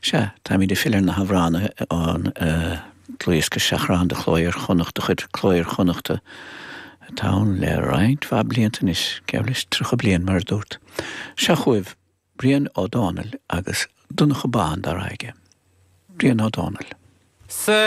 Sea, táimid ag filleadh ar na hamhránaithe ón dlúthdhiosca Seachrán de Chló Iar-Chonnacht de chuid Cló Iar-Chonnachta atá ann le roinnt mhaith blianta anois, geall leis 30 bliain mar a dúrt. Seo chugaibh Brian Ó Dónaill agus Donncha Bán dá rá aige. Brian Ó Dónaill. Sa.